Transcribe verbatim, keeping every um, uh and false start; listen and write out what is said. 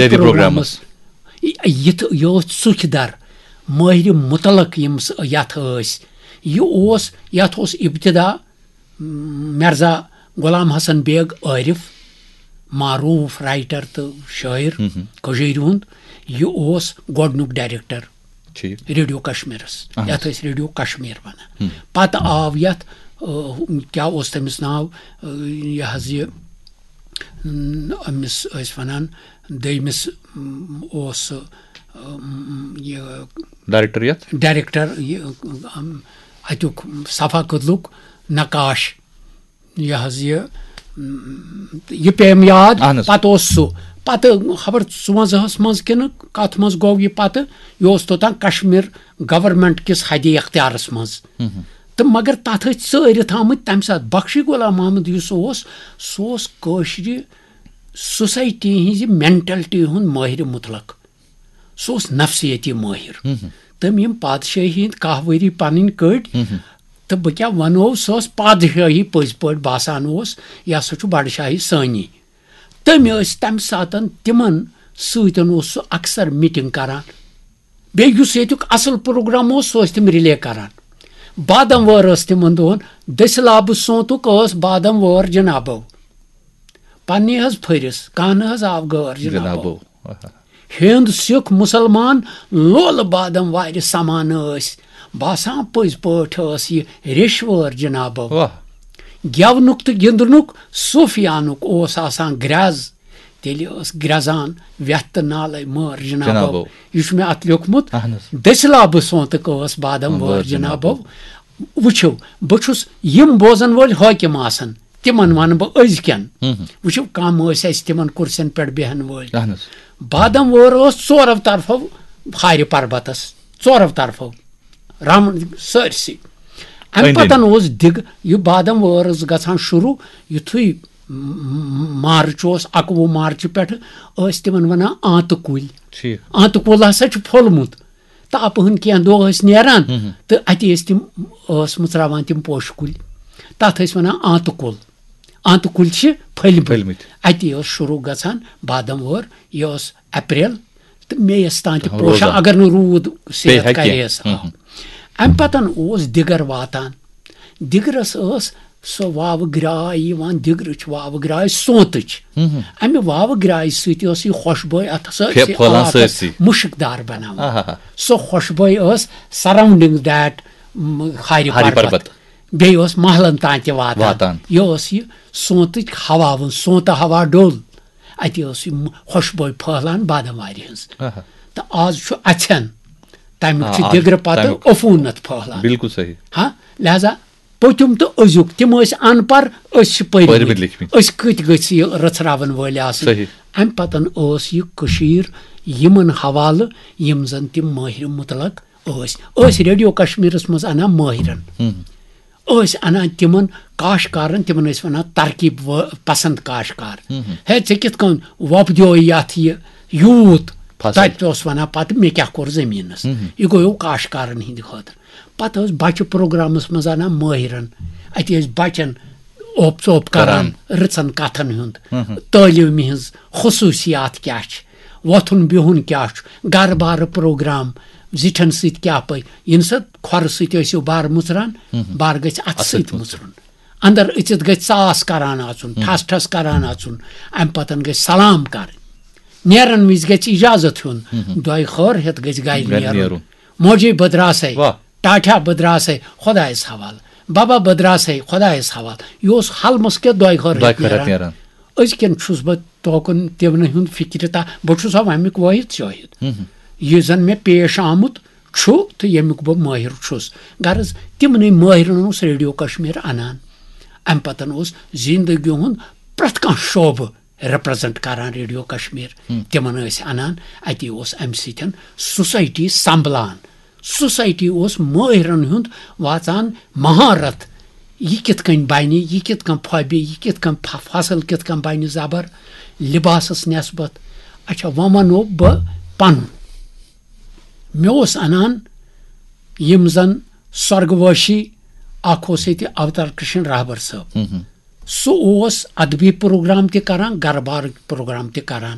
دِ programmes. Programmes. یہِ، یہِ تہِ، یہِ اوس ژُکھۍ در، مٲہرِ مطلق یِم س-، یتھ ٲسۍ۔ یہِ اوس، یتھ اوس ابتدا، م، مرزا غلام حسن بیگ عارف، معروف رائٹر تہٕ شٲعر ہم ہم۔ کٔشیٖرِ ہُنٛد۔ یہِ اوس گۄڈٕنیُک ڈائریکٹر ٹھیٖک۔ ریڈیو کشمیرس، اہن حظ۔ یتھ ٲسۍ ریڈیو کشمیر ونان۔ ہم۔ پتہٕ آو یتھ، آ، کیٛاہ اوس تٔمِس ناو، آ، یہِ حظ یہِ، م، أمِس ٲسۍ ونان دوٚیمِس، م، اوس سُہ، آ، م، یہِ ڈائریکٹر یتھ؟ ڈائریکٹر، یہِ، ام، اتیُک صفا کدلُک نقاش، یہِ حظ یہِ، م، یہِ پیٚیَم یاد۔ اہن حظ۔ پتہٕ اوس سُہ، پتہٕ خبر ژُوَنزاہَس منٛز کِنہٕ کتھ منٛز گوٚو یہِ پتہٕ، یہِ اوس توٚتام کشمیر گورنمنٹ کِس حدِ اختیارس منٛز۔ ہم ہم۔ تہٕ مگر تتھ ٲسۍ ژٲرِتھ آمٕتۍ تمہِ ساتہٕ۔ بخشی غلام محمد یُس اوس، سُہ اوس کٲشرِ سوسائٹی ہٕنٛزِ مینٹلٹی ہُنٛد مٲہرِ مطلق۔ سُہ اوس نفسیٲتی مٲہر۔ ہم ہم۔ تٔمۍ یِم پادشٲہی ہٕنٛدۍ کاہ ؤری پنٕنۍ کٔڑۍ، ہم ہم۔ تہٕ بہٕ کیٛاہ ونو، سۄ ٲس پادشٲہی پٔزۍ پٲٹھۍ باسان اوس، یہِ ہسا چھُ بڈٕ شاہی سٲنی۔ تٔمۍ ٲسۍ تمہِ ساتن تِمن سۭتۍ اوس سُہ اکثر میٹنگ کران۔ بیٚیہِ یُس ییٚتیُک اصل پروگرام اوس، سُہ ٲسۍ تِم رِلے کران۔ بادم وٲر ٲس تِمن دۄہن، دٔسِل آبہٕ سونتُک ٲس بادم وٲر جنابو۔ پننہِ حظ پھٔرِس، کانٛہہ نہٕ حظ آو غٲر جنابو۔ جنابو۔ آہا۔ ہیٚنٛد سِکھ مُسلمان لولہٕ بادم وارِ سمان ٲسۍ۔ باسان پٔزۍ پٲٹھۍ ٲس یہِ ریٚش وٲر جنابو۔ واہ۔ گٮ۪ونُک تہٕ گِنٛدنُک صوٗفیانُک اوس آسان گرٛٮ۪ز۔ تیٚلہِ ٲس گرٛٮ۪زان وٮ۪تھ تہٕ نالے مٲر جنابو۔ جنابو۔ یہِ چھُ مےٚ اتھ لیوٚکھمُت۔ اہن حظ۔ دٔسِل آبہٕ سونتُک ٲس بادم وٲر وٲر جنابو۔ جنابو۔ وٕچھِو، بہٕ چھُس یِم بوزن وٲلۍ حٲکِم آسان، تِمن ونہٕ بہٕ أزکٮ۪ن۔ ہم ہم۔ وٕچھِو، کم ٲسۍ اَسہِ تِمن کُرسین پٮ۪ٹھ بیہن وٲلۍ۔ اہن حظ۔ بادم وٲر ٲس ژورو طرفو ہارِ پربتس، ژورو طرفو، رم سٲرسٕے۔ امہِ أنٛدۍ أنٛدۍ۔ پتن اوس دِگ، یہِ بادم وٲر ٲس گژھان شروع، یُتھُے م-، م-، مارچ اوس، اکوُہ مارچہِ پٮ۪ٹھٕ ٲسۍ تِمن ونان آنتہٕ کُلۍ۔ ٹھیٖک۔ آنتہٕ کُل ہسا چھُ پھوٚلمُت۔ تاپہٕ ہٕن کینٛہہ دۄہ ٲسۍ نیران ہم ہم۔ تہٕ اَتی ٲسۍ تِم، ٲس مٕژراوان تِم پوشہٕ کُلۍ۔ تَتھ ٲسۍ وَنان آنتہٕ کُل۔ آنتہٕ کُلۍ چھِ پھٔلۍ مٕتۍ۔ پھٔلۍ مٕتۍ۔ اَتی ٲس شروٗع گژھان بادم وٲر، یہِ ٲس اپریل تہٕ مے یَس تام تہِ روزان۔ پوشان، اگر نہٕ روٗد صحت پیٚیہِ ہا کینٛہہ۔ کَرِہَس۔ ہم ہم۔ اَمہِ پَتَن اوس دِگر واتان۔ دِگرَس ٲس سۄ واوٕ گرٛاے یِوان، دِگرٕچ واوٕ گرٛاے سونتٕچ۔ ہم ہم۔ اَمہِ واوٕ گرٛایہِ سۭتۍ ٲس یہِ خۄشبٲے اَتھ سٲرسٕے پھٔ-، پھٔہلان علاقَس سٲرسٕے۔ مُشکدار بَناوان۔ آہا۔ سۄ خۄشبٲے ٲس surrounding that، م، ہارِ ہارِ پربت۔ پربت۔ بیٚیہِ ٲس محلَن تام تہِ واتان۔ واتان۔ یہِ ٲس یہِ سونتٕچ ہوا وُن، سونتہٕ ہوا ڈوٚل۔ اَتہِ ٲس یہِ م-، خۄشبٲے پھٔہلان بادم وارِ ہٕنٛز۔ آہا۔ تہٕ آز چھُ اَژھٮ۪ن، تَمیُک آ، چھُ آز دِگرٕ پَتہٕ تَمیُک۔ عفوٗنت پھٔہلان۔ بِلکُل صحیح۔ ہاں، لہذا پٔتِم تہٕ أزیُک، تِم ٲسۍ اَن پَڑھ، أسۍ چھِ پٔرۍمٕتۍ۔ پٔرۍمٕتۍ لیکھمٕتۍ۔ أسۍ کۭتۍ گٔژھۍ یہِ رٔژھراوَن وٲلۍ آسٕنۍ؟ صحیح۔ اَمہِ پَتَن ٲس یہِ کٔشیٖر یِمَن حوالہٕ یِم زَن تِم مٲہرِ مُطلق ٲسۍ۔ ٲسۍ ریڈیو کشمیٖرَس منٛز اَنان مٲہرَن۔ ہم۔ ٲسۍ اَنان تِمَن کاشکارَن، تِمَن ٲسۍ وَنان ترکیب و-، پسند کاشکار۔ ہم ہم۔ ہے، ژےٚ کِتھ کٔنۍ وۄپدیو یَتھ یہِ یوٗت؟ فصل۔ تَتہِ اوس وَنان پَتہٕ، مےٚ کیٛاہ کوٚر زٔمیٖنَس؟ ہم ہم۔ یہِ گوٚو کاشکارَن ہِنٛدِ خٲطرٕ۔ پتہٕ ٲسۍ بچہٕ پروگرامس منٛز انان مٲہرن۔ اتہِ ٲسۍ بچن اوپ ژوپ کران، کران۔ رٕژن کتھن ہُنٛد، ہم ہم۔ تعلیمہِ ہٕنٛز خصوٗصیات کیٛاہ چھِ، وۄتھُن بِہُن کیٛاہ چھُ، گرٕ بارٕ پروگرام، زِٹھٮ۪ن سۭتۍ کیٛاہ پٲٹھۍ، ییٚمہِ ساتہٕ کھۄرٕ سۭتۍ ٲسِو بارٕ مُژران، ہم ہم۔ بارٕ گژھِ اتھٕ اتھٕ سۭتۍ سۭتۍ مُژرُن۔ مُژرُن۔ اندر أژِتھ گژھِ ژاس کران اژُن، ہم۔ ٹھس ٹھس کران اژُن، امہِ پتن گژھِ سلام کرٕنۍ۔ نیرن وِزِ گژھِ اجازت ہیوٚن، ہم ہم۔ دۄیہِ خٲر ہٮ۪تھ گژھِ گرِ گرِ نیرُن۔ نیرُن۔ موجی بدراسے۔ واہ۔ ٹاٹھا بدراسے خۄدایس حوالہٕ، بابا بدراسے خۄدایس حوالہٕ۔ یہِ اوس حلمس کیٛاہ دۄیہِ خٲر دۄیہِ خٲر نیران۔ نیران۔ أزکٮ۪ن چھُس بہٕ توکُن تِمنٕے ہُنٛد فِکرِ تہ، بہٕ چھُس اَمِیُک وٲحد شٲہِد۔ ہم ہم۔ یہِ زن مےٚ پیش آمُت چھُ تہٕ ییٚمیُک بہٕ مٲہِر چھُس۔ غرض، تِمنٕے مٲہِرن اوس ریڈیو کشمیر انان۔ امہِ پتن اوس زندگی ہُنٛد پرٛٮ۪تھ کانٛہہ شعبہٕ ریپرزنٹ کران ریڈیو کشمیر۔ ہم۔ تِمن ٲسۍ انان، اتی اوس امہِ سۭتۍ سوسایٹی سنبھلان۔ سوسایٹی اوس مٲہرن ہُنٛد واژان مہارت، یہِ کِتھ کٔنۍ بنہِ، یہِ کِتھ کٔنۍ پھۄبہِ، یہِ کِتھ کٔنۍ پھۄ-، فصل کِتھ کٔنۍ بنہِ زبر لباسس نسبت۔ اچھا، وۄنۍ ونو بہٕ پنُن۔ مےٚ اوس انان یِم زن سۄرگوٲشی، اکھ اوس ییٚتہِ اوتار کرشن راہبر صٲب۔ ہم ہم۔ سُہ اوس ادبی پروگرام تہِ کران، گرٕ بارٕکۍ پروگرام تہِ کران۔